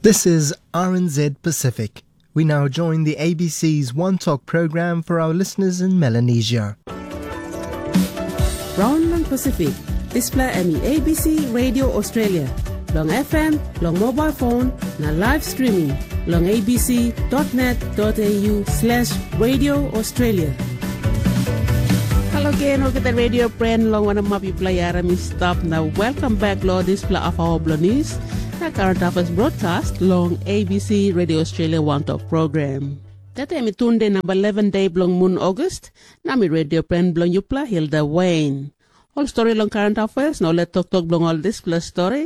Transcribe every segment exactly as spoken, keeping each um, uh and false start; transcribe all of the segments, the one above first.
This is R N Z Pacific. We now join the A B C's One Talk program for our listeners in Melanesia. Raun long Pasifik, dispela em i A B C Radio Australia, long F M, long mobile phone, na live streaming, long A B C dot net dot A U slash Radio Australia. Halo gen, olgeta radio pren, long wanem hap yupela i harim i stap, na welcome back lo dispela afawa bilong news na current affairs broadcast long A B C Radio Australia One Talk program. Tete em i tunde namba eleven de bilong mun August, na mi radio pren bilong yupela Hilda Wayne. Ol stori long current affairs na ol toktok bilong ol dispela stori.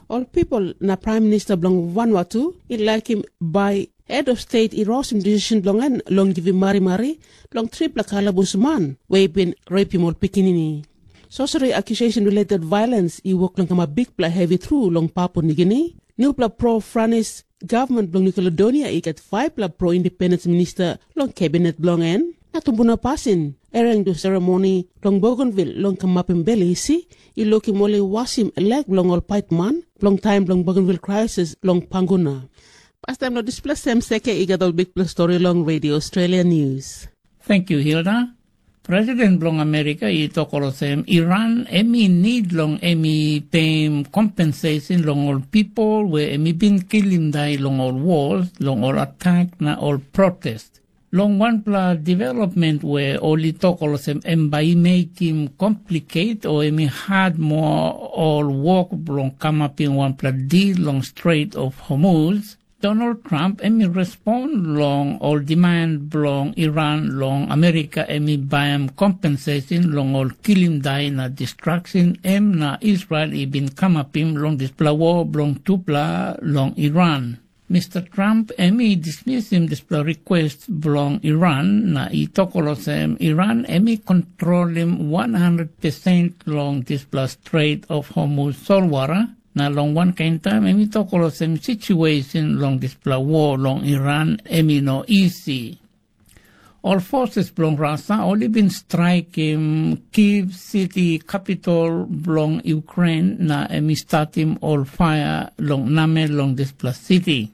Ol people na prime minister bilong Vanuatu i laikim bai head of state i rosim decision bilong en long givim marimari long tripela kalabus man we i bin repim ol pikinini. Sorcery accusation related violence i wok long kamap bikpela hevi tru long Papua Nigini. Nupela pro Franis gavman bilong New Caledonia i gat faipela pro independence minister long kabinet bilong en. Na tumbuna pasin, ereng du seremoni long Bougainville long kamapim bel isi, i lukim ol i wasim lek bilong ol paitman bilong taim bilong Bougainville crisis long Panguna. Pastaim long dispela sem seke i gat ol bikpela stori long Radio Australia News. Thank you, Hilda. President bilong Amerika i tok olsem, Iran em i nid long em i peim kompenseisin long ol pipol we em i bin kilim dai long ol wol, long ol atak na ol protest. Long wanpela development we ol i tok olsem em bai i mekim kompliket o em i hat moa ol wok bilong kamapim wanpela dil long Strait of Hormuz, Donald Trump em i respond long ol demand bilong Iran long Amerika em i baim kompenseisin long ol kilim dai na distraksin em na Israel i bin kamapim long dispela wol bilong tupela long Iran. Mister Trump em i dismisim dispela request bilong Iran na i tok olsem Iran em i kontrolim one hundred percent long dispela Strait of Hormuz solwara, na long wankain taim em i tok olsem situesin long dispela wol long Iran em i no isi. Ol forces bilong Rusia ol i bin straikim Kiev siti kapitol bilong Ukrain na em i statim ol paia long namel long dispela siti.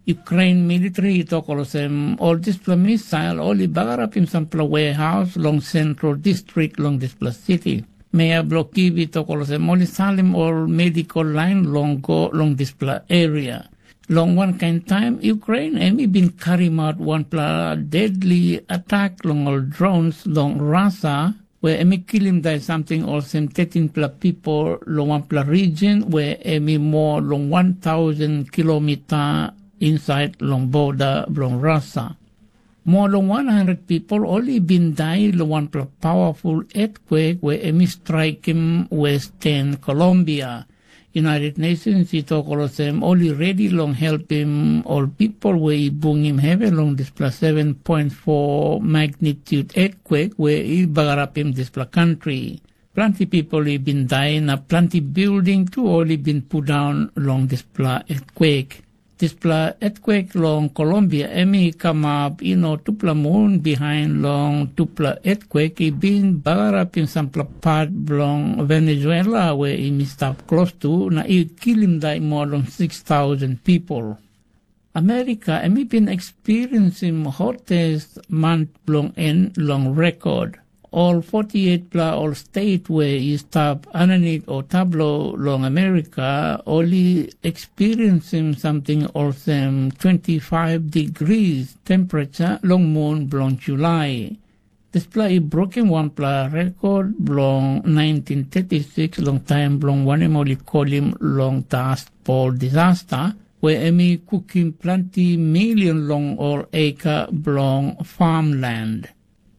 Ukrain militri i tok olsem ol dispela misail ol i bagarapim sampela wehaus long sentral distrik long dispela siti. Mea bilong Kiev i tok olsem ol i salim ol medikal lain long go long dispela eria. Long wankain taim Ukrain em i bin karimaut wanpela dedli atak long ol drons long Rusia, we em i kilim dai samting olsem tetinpela pipel long wanpela region we em i moa long wan tausen kilomita insait long boda bilong Rusia. Moa long wan handret pipel ol i bin dai long wanpela pawaful etkwek we em i straikim Western Colombia. United Nations i tok olsem ol i redi long helpim ol pipel we i bungim hevi long dispela seven point four magnitude etkwek we i bagarapim dispela kantri. Planti pipel i bin dai na planti bilding tu ol i bin pundaun long dispela etkwek. Dispela etkwek long Kolombia em i kamap i no tupela mun bihain long tupela etkwek i bin bagarapim sampela pat bilong Venezuela we i mi stap klostu na i kilim dai moa long six tausen pipel. Amerika em i bin eksperiensim hotes man bilong en long rekod. Ol forty-eight-pela ol stet we i stap aninit o tablo long Amerika, ol i eksperiensim samting olsem twenty-five degrees temperature long mun bilong Julai. Dispela i brukim wanpela rekod bilong nineteen thirty-six long taim bilong wanem ol i kolim long Dust Bowl disaster, we em i kukim planti milion long ol eka bilong farmland.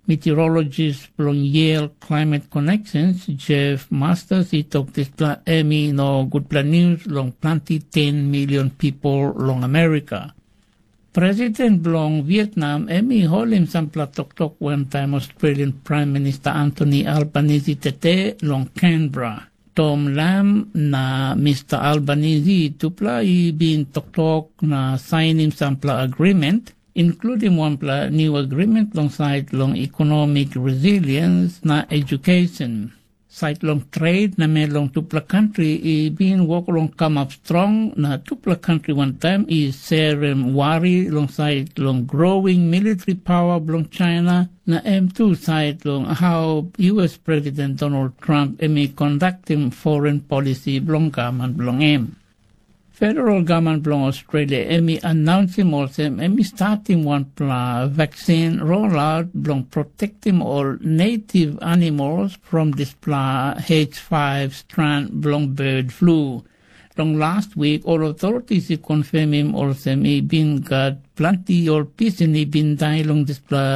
Meteorologist bilong Yale Climate Connections, Jeff Masters, i tok dispela em i no gutpela news long planti ten milion pipel long Amerika. President bilong Vietnam em i holim sampela toktok wantaim Australian Prime Minister Anthony Albanese tete long Canberra. Tom Lam na Mister Albanese tupela i bin toktok na sainim sampela agreement, inkludim wanpela niu agreement long sait long economic resilience na education. Sait long tret na men long tupela kantri i bin wok long kamap strong, na tupela kantri wantaim i serim wari long sait long growing military pawa bilong China, na em tu sait long hau U S President Donald Trump em i kondaktim foreign policy bilong gavman bilong em. Federal gavman bilong Australia em i anaunsim olsem em i statim wanpela vaksin rolaut bilong protektim ol native animals from dispela H five stran bilong bird flu. Long last wik ol authorities i konfirmim olsem i bin gat planti ol pisin i bin dai long dispela